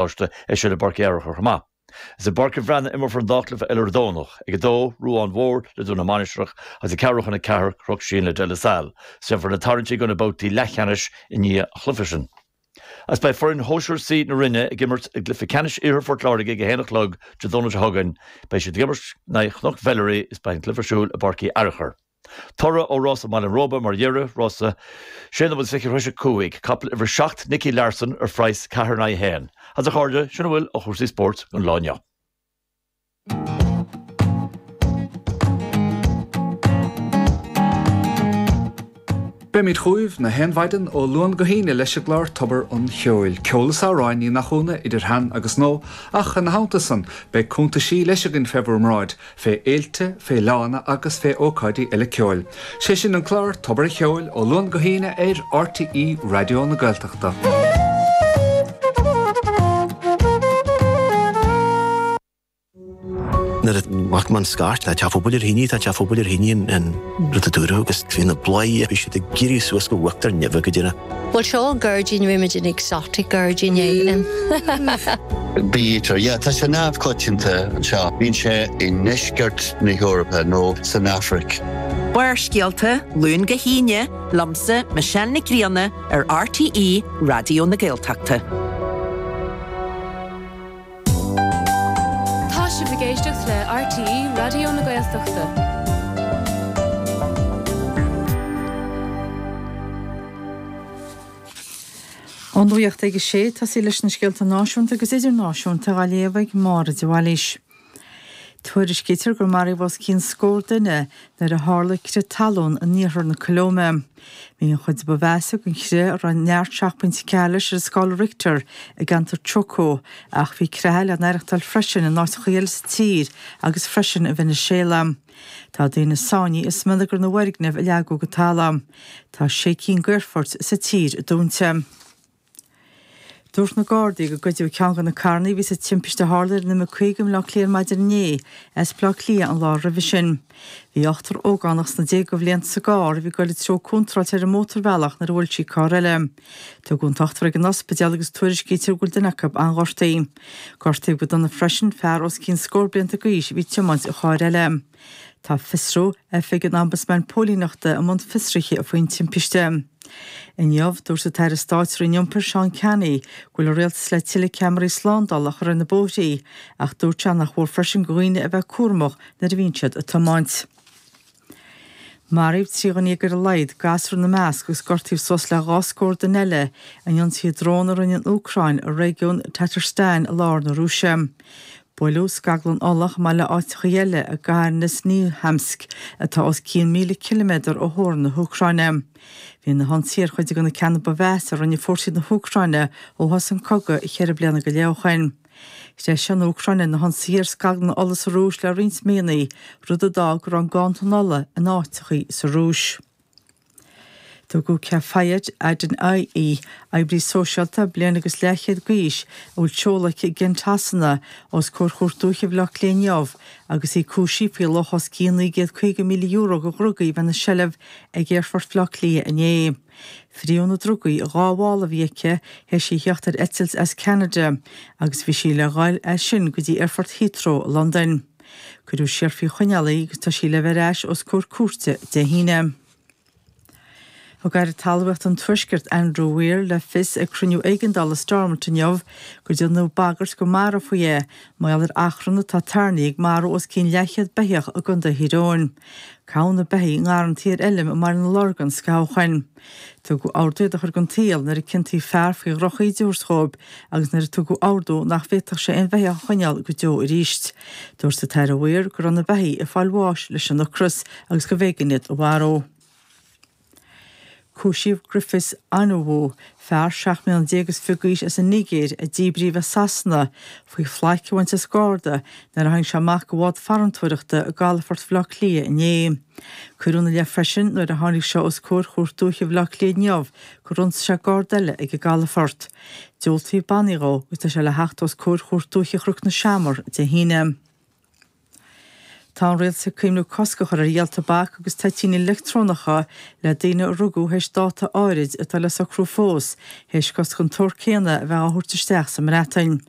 Choláiste é sin i bPáirc Uí Fhearchair chomh maith. Is i bPáirc an Bhreathnaigh a imreofar an dá chluiche eile ar an Domhnach, ag 2, Ruán Mhór le Dún na Mainistreach agus ag ceathrú chun 4, Cnoc Síon le De La Salle. Déanfar na tarraingtí do na babhtaí leathcheannais i ndiaidh an chluiche sin. Agus beidh foireann Shóisir C na Rinne ag imirt i gcluiche ceannais Iarthar Phort Láirge ag 1 a chlog Dé Domhnaigh seo chugainn. Beidh siad ag imirt in aghaidh Chnoc Mheilearaí is beidh an cluiche ar siúl i bPáirc Uí Fhearchair. Toradh ó rása Bhaile an Róba mar dheireadh, rása 6 nóiméad is 20 tar éis 5, capall uimhir 7 Nicky Larson ar phraghas 4 in aghaidh 1. Agus a chairde, sin a bhfuil ó chúrsaí spóirt don lá inniu. Beimid chugaibh na haon mhaidin ó Luan go hAoine leis an gclár Tobar an Cheoil. Ceol is amhráin, ní nach ionadh, idir shean agus nua, ach ina theannta san, beidh cuntaisí leis againn fé bhur mbráid, fé fhéilte, fé fhleánna agus fé ócáidí eile ceoil. Sé sin an clár Tobar an Cheoil ó Luan go hAoine ar RTÉ Raidió na Gaeltachta. Nuair a ghlac mé an scairt, tá teach phobail ar thine, tá teach phobail ar thine an rud a dúradh agus bhí na bláthaí, bhí siad ag éirí suas go huachtar neimhe go deireadh. Bhuel seo an gairdín, rinne muid an exotic gairdín é. Bee-eater, yeah, tá sé neamhchoitianta anseo. Bíonn sé i ndeisceart na hEorpa nó san Afraic. Barrscéalta, Luan go hAoine, liomsa, Michelle Nic Grianna, ar RTÉ Raidió na Gaeltachta. Tá sibh ag éisteacht le RTÉ Raidió na Gaeltachta. An nuacht ag a sé, tosaí leis na scéalta náisiúnta agus idirnáisiúnta á léamh ag Máire de Bhailís. Tuairiscítear gur maraíodh os cionn scór duine nuair a tharla crith talún in iarthar na Colóime. Bhí an chuid ba mheasa den chrith, a raibh neart 7.4 leis ar an scála Richter, i gceantar Chocó, ach bhí creatha le n-aireachtáil freisin in áiteacha eile sa tír agus freisin i Veiniséala. Tá daoine sáinnithe i smionagar na bhfoirgneamh a leagadh go talamh. Tá sé cinn d'aerfoirt sa tír dúnta. Dúirt na Gardaí gur goideadh ceann de na carranna a bhí sa timpiste a tharla ar an M50 i mBleá Cliath ar maidin inné as Bleá Cliath an lá roimhe sin. Bhí ochtar ógánach sna déaga bhlianta sa gcarr a bhí ag dul an treo contráilte ar an mótarbhealach nuair a bhuail sí carr eile. Tugadh an t-ochtar ag an ospidéal agus tuairiscítear go bhfuil duine acu an-ghortaithe. Gortaíodh go dona freisin fear os cionn scór blianta d'aois a bhí ag tiomáint an chairr eile. Tá Fiosrú, Oifig an Ombudsman Póilíneachta i mbun fiosraithe faoin timpiste. Inniu, dúirt an tAire Stáit sa Roinn Iompair, Seán Canney, go bhfuil an rialtas le tuilleadh ceamaraí slándála a chur ar na bóithrí, ach dúirt sé nach mhór freisin do dhaoine a bheith cúramach nuair a bhíonn siad ag tiomáint. Maraíodh 13 dhuine ar a laghad, gasúr ina measc, agus gortaíodh suas le dhá scór duine eile in ionsaithe drón a rinne an Úcráin i réigiún Tatarstan i lár na Rúise. Buaileadh scaglann ola chomh maith le áiteacha eile i gcathair Nizhnekamsk, atá os cionn 1,000 ciliméadar ó theorainn na hÚcráine. Bhí na hionsaithe ar chuid de na ceanna ba mheasa a rinne fórsaí na hÚcráine ó thosaigh an cogadh cheithre bliana go leith ó shin. Threisigh an Úcráin na hionsaithe ar scaglanna ola sa Rúis le roinnt míonna, rud a d'fhág go raibh an ganntan ola in áiteacha sa Rúis. Tugadh Kafayat Adeniyi, oibrí sóisialta bliain agus leathchéad d'aois, a bhfuil seoladh aici i gCent Shasana, os comhair Chúirt Dúiche Bhaile Átha Cliath inniu agus í cúisithe faoi luach os cionn €950,000 de dhrugaí a bheith ina seilbh ag Aerfort Bhaile Átha Cliath inné. Fríodh na drugaí i dhá mhála a bhí aici théis í a theacht ar eitilt as Ceanada agus bhí sí le dhul as sin go dtí Aerfort Heathrow i Londain. Cuireadh siar faoi choinneáil í agus tá sí le bheith ar ais os comhair cúirte Dé hAoine. Thug Aire Talmhaíochta an Tuaiscirt, Andrew Weir, le fios ag cruinniú éigeandála Stormont inniu gur déanadh bagairt go marófaí é mar gheall ar achrann atá tarraingthe ag marú os cionn leathchéad beithíoch i gContae Thír Eoghain. Caitheadh na beithígh i ngarrantaí ar fheilm i mBaile na Lorgan scaitheamh ó shin. Tugadh ordú iad a chur den tsaol nuair a ciontaíodh fear faoi dhroch-íde a thabhairt dhóibh agus nuair a tugadh ordú nach bhféadfadh sé aon bheithíoch a choinneáil go deo arís. Dúirt an tAire Weir go raibh na beithígh ag fáil bháis leis an ocras agus gurbh éigean iad a mharú. Cúisíodh Griffiths Onyewu, fear 17 mbliana is fiche d'aois as an Nigéir a díbríodh as Sasana, faoi phlaic a bhaint as garda nuair a tháinig sé amach de bhád farantóireachta i gcalafort Bhaile Átha Cliath inné. Cuireadh ina leith freisin nuair a tháinig sé os comhair Chúirt Dúiche Bhaile Átha Cliath inniu gur ionsaigh sé garda eile ag an gcalafort. Diúltaíodh bannaí dhó agus tá sé le theacht os comhair Chúirt Dúiche Chnoc na Seamar Dé hAoine. Tá an rialtas ag cuimhniú cosc a chur ar dhíol tobac agus toitíní leictreonacha le daoine a rugadh théis dáta áirid atá le socrú fós, théis cosc den tsórt céanna a bheith á thabhairt isteach sa mBreatain.